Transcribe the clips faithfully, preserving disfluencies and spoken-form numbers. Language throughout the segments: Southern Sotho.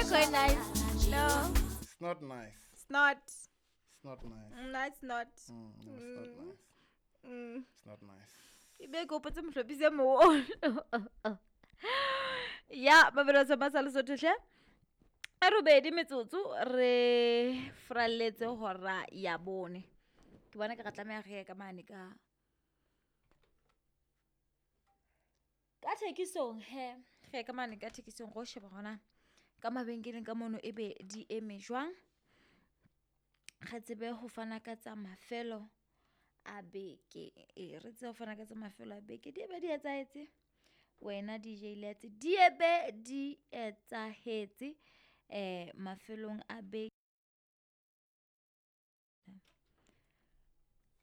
Nako e nice. No, It's not nice. it's not. It's not nice. No, it's not. Mm, no, it's not nice. Mm. It's not nice. Ebe ke hopotse mohlophisi e moholo. Ya, mabelo ba sa Lesotho hle. A robedi metsotso re fralletse hora ya bone. Ke bona ke re tlameha re ye ka mane ka ka thekisong he. Re ye ka mane ka thekisong ro sheba hona ka mabenkeleng ka mono ebe di eme jwang. Re tsebe ho fana ka tsa mafelo a beke. E re tsebe ho fana ka tsa mafelo a beke. Di ebe di etsahetse wena D J Letse. Di ebe di etsahetse eh mafelong a beke.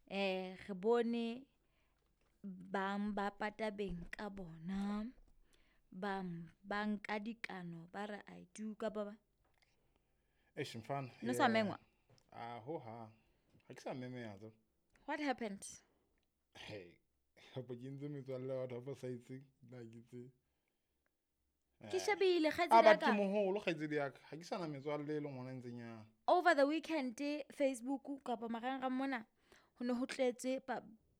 Eh re bone bang ba pata beng ka bona, bang ba nka dikano ba re I do ka ba ba. Eish mfana. No sa mengwa. Ah ho ha. Ha ke sa memeha tso. What happened? Hey, hapo ke ntse metswalle wa batho ba sa itseng, nna ke tse. Ke shebile Ah, kgaitsedi ya but ka. ke moholo kgaitsedi ya ka. Ha ke sana metswalle e leng hona e ntseng ya. Over the weekend Facebook kapa marangrang mona ho ne ho tletse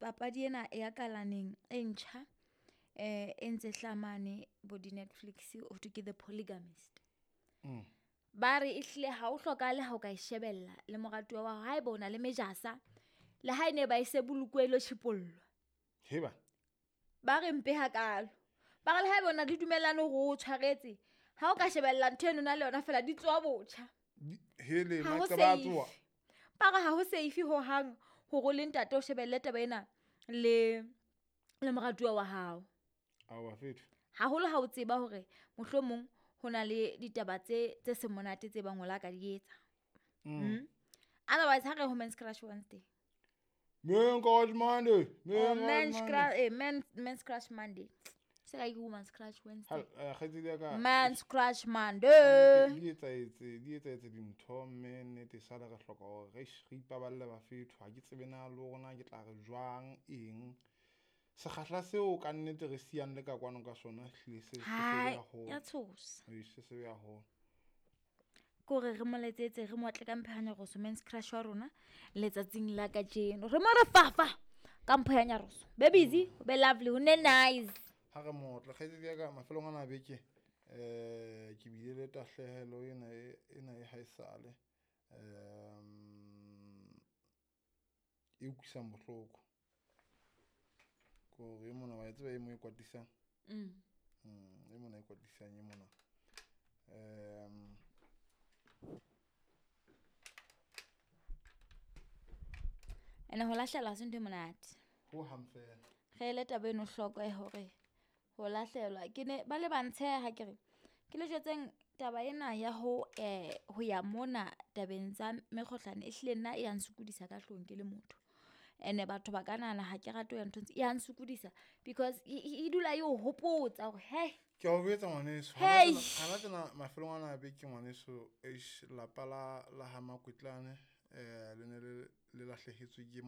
papadi ena ya kalaneng e ntjha eh e ntse hlamane bo di Netflix ho thwe ke The Polygamist. Mm. Ba re ehlile ha o hlokahale ha o ka e shebella le moratuwa wa hao haeba o na le mejasa le ha e ne ba e se bolokwe lo tjhipollwa. Heba. Ba re mpe hakalo. Ba re le haeba o na le dumellano hore o tshwaretse ha o ka shebella ntho eno na le yona fela di tswa botjha. Hele Ha ho maqeba a safe. tsoha. Ba re ha ho safe ho hang hore o le ntate o shebelle taba ena le le moratuwa wa hao. Aowa fetho. Haholo ha o tseba hore mohlomong ho na le ditaba tse tse seng monate tse bang o la ka di etsa. Mm. Otherwise ha re ho Men's Crush Wednesday. Men Crush Monday. Oh, Men Men's Crush Crush, eh, Men, Men's Crush Monday. Se ka ke Women's Crush Wednesday. Ha kgaitsedi ya ka. Men's Crush Monday. Di etsahetse, di etsahetse dintho mme nnete sale re hloka hore re re ipaballe ba fetho. Ha ke tsebe na le hore na ke tla re jwang eng. Sekgahla seo ka nnete re siyang le ka kwano ka sona ehlile se se Hai, sebe haholo. ya tshosa. Ee, se sebe haholo. Kore re mo letsetse re mo atle ka mpho ya nyaroso Men's Crush wa rona letsatsing la kajeno. Re mo re fafa ka mpho ya nyaroso. Be busy, be lovely, ho ne nice. Ha re motle kgaitsedi ya ka mafelong ana a beke eh ke bile le tahlehelo ena e ena e haesale um e utlwisang bohloko. Kore e mona wa e tseba e mo e kwatisang. Mm. Mm, e mona e kwatisang e mona. Um Ene ho lahlehelwa ha se ntho e monate. Ho hang fela. Re ele taba eno hloko ya hore ho lahlehelwa ke ne ba le ba ntsheha ke re ke le jwetseng taba ena ya ho eh ho ya mona tabeng tsa mekgohlane ehlile nna e ya nsokodisa ka hloohong ke le motho. Ene batho ba ka nahana ha ke rate ho ya nthong tse, e ya nsokodisa because e, e, e dula e o hopotsa hore hey. Ke a o jwetsa ngwaneso, Hey. hana tsena mafelong ana a beke ngwaneso, eish lapa la la ha Makwetlane eh le ne le le lahlehetswe ke